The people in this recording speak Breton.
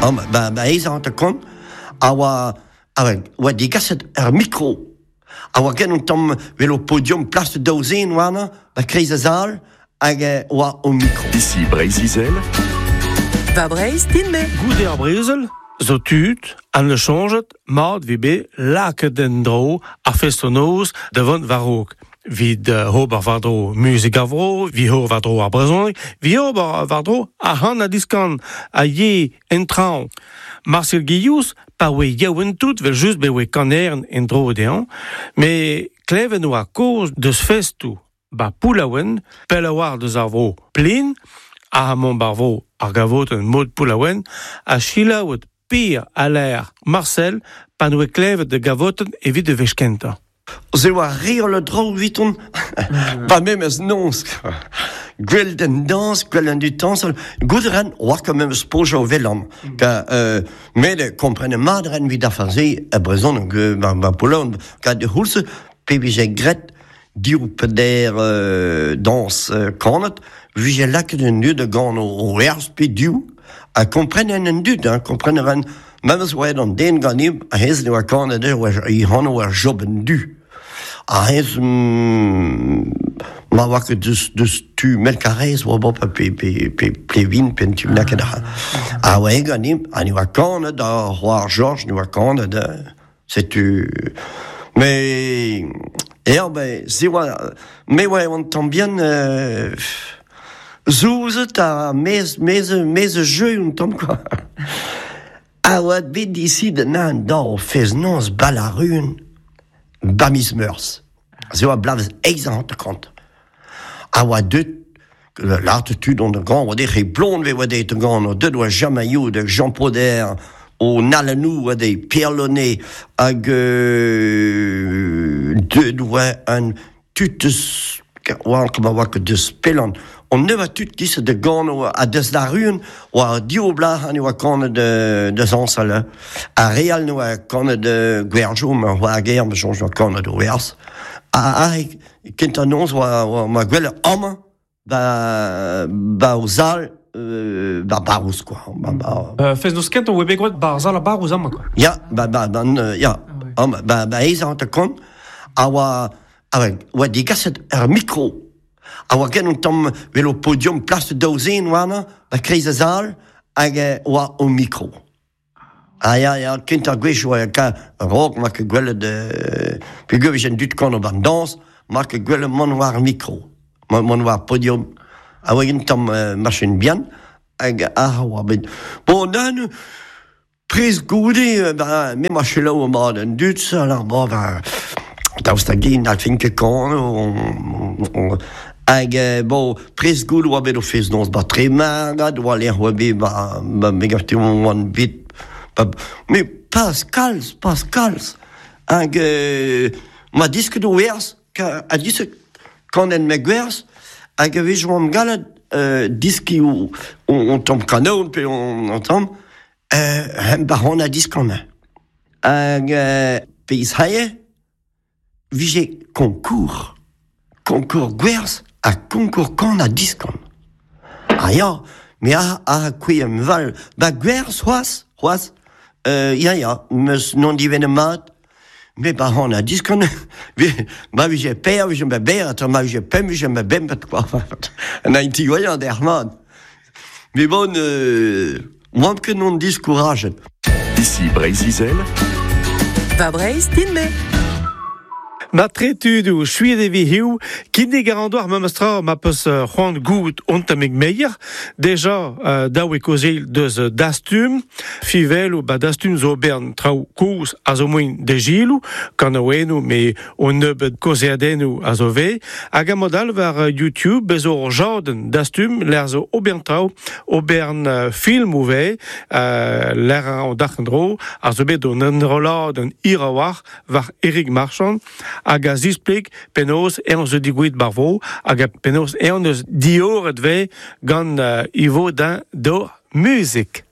Amañ, ba, ba aes 50 a oa, a oa degaset ar mikro. A oa get un tamm vel o podium plas daou zen warnañ, ba kreiz a sal, hag oa o mikro. Ici Breizh-Izel. Va Breizh din-me. Goude ar brezel, zo tud an neus soñjet mat vi bet lakaet en-dro ar festoù-noz da vont war-raok. 'Vit ober war-dro muzik ar vro, 'vit ober war-dro ar brezhoneg, 'vit ober war-dro ar c'han ha diskan a ye en traoñ. Marcel Guillouz, pa oe yaouank tout, 'vel-just bet oe kaneren en-dro dezhañ, met klevet oa kaoz deus festoù 'ba Poullaouen, pell a-walc'h deus ar vro Plin, ha mont 'bar vro ar gavotenn mod Poullaouen, ha selaouet Pir a lâr Marcel pa 'noe klevet da gavotenn evit e wech kentañ. Se oa re holl a draoù eviton, pa memes noz. Gwell d'an dañs, gwell an dud dañsal. Goût a ran, oa ket memes pojañ o velan. Ka met kompren mat a ran evit ar se e brezhoneg, ba, ba Poulon, ka de c'houlz pe vije graet div peder dañs kanet, vije lakaet an dud da gano o werz pe div, ha kompren an dud, hein, kompren a ran Memes oa aet an den ganimp, hennezh ne oa kanet eo e anv oa Job an Du. Ha hennezh ma oa ket deus, deus tu Melkarez oa bo pe, pe, pe Plevin pe un tu bennak ah. Ha oa eñ ganimp, ha ne oa kanet ar c'hoar Jorj ne oa kanet, setu... Mais eo ben se oa me oa un tamm bihan Zouzet ha mez, mez, mez jeu un tamm quoi. A oa bet disidet an daou fest-noz Balarun ba miz Meurzh. Se oa bloavezh eizh ha hanter-kant. A oa deut lâret tud on da gan, oa dec'h blond e oa deuet da gan, deut oa Jean Maillot, Jean Poder, o Nalanou oa dezhe, Pierre Launay, hag deut oa an tud eus oa ma oa ket deus pellan on neva tud giz da gano ha deus da ruan oa div blac'h ne oa kanet da zañsal ha re all ne oa kanet gwerjo ma oa ger ma soñj oa kanet o werz ha aze kentañ noz oa oa ma gwelet amañ ba ba o sal ba barrouz quoi ba, ba... Fest-noz kentañ oa bet graet ba ar sal a barrouz amañ quoi. Ya ba ba ban ya amañ ba ba aes hanter-kant a oa a oa degaset ur mikro a oa get un tamm vel o podium plas daou zen warnañ ba kreiz a sal hag oa o mikro. Ah ya, ya, kentañ gwech oa ka a-raok 'ma ket gwelet peogwir 'vije an dud kanañ 'ba 'n dañs, 'ma ket gwelet mont war ar mikro, mont war ar podium. A oa un tamm machin bihan hag ac'h oa bet. Bon, neuze, prest goude, ben, me 'ma selaou mat an dud, alors bon, ben, daoust hag-eñ n'hallfen ket kanañ, hag bon, prest goude oa bet o fest-noz 'ba Tremargad, oa lec'h oa bet 'ba, ba me gav oan bet, ba, met pas kalz, pas kalz. Hag 'ma disket o werz, ha disket kanet ma gwerz, hag a-wech oamp gallet diskiñ on tamm kanaouenn pe on tamm, hemp ar a diskanañ. Hag pezh hae vije konkour, konkour gwerz ha konkour kan ha diskan. Ah ya, me a a kouezh val ba gwerz c'hoazh, c'hoazh, ya ya, meus n'on divennet mat, me ba c'han ha diskan, ma vije per vije ma ber, ma vije pemp vije ma bempet quoi. An ti voyant der mat. Mais bon, oamp ket non diskourajet. Ici Breizh-Izel. Va Breizh din-me. Matre tudoù, suet e vi hiziv, kinnig a ran deoc'h memestra ma peus c'hoant goût on tammig meier. Deja daou e kaozeal deus Dastum, Fiveloù ba Dastum zo bern traoù kozh a zo moin da giloù, kanaouennoù me un nebeud kaozeadennoù a zo vez, hag a mod all war YouTube bez zo ur jadenn dastum lec'h zo obern traoù, obern filmoù vez, lec'h an dac'h en-dro, a zo bet un enrolladenn hir a-walc'h war Erik Marchand, hag a zispleg penaos eñ zo digouezet bar vro, hag penaos eñ neus dioret vez gant Ivo d'in d'or muzik.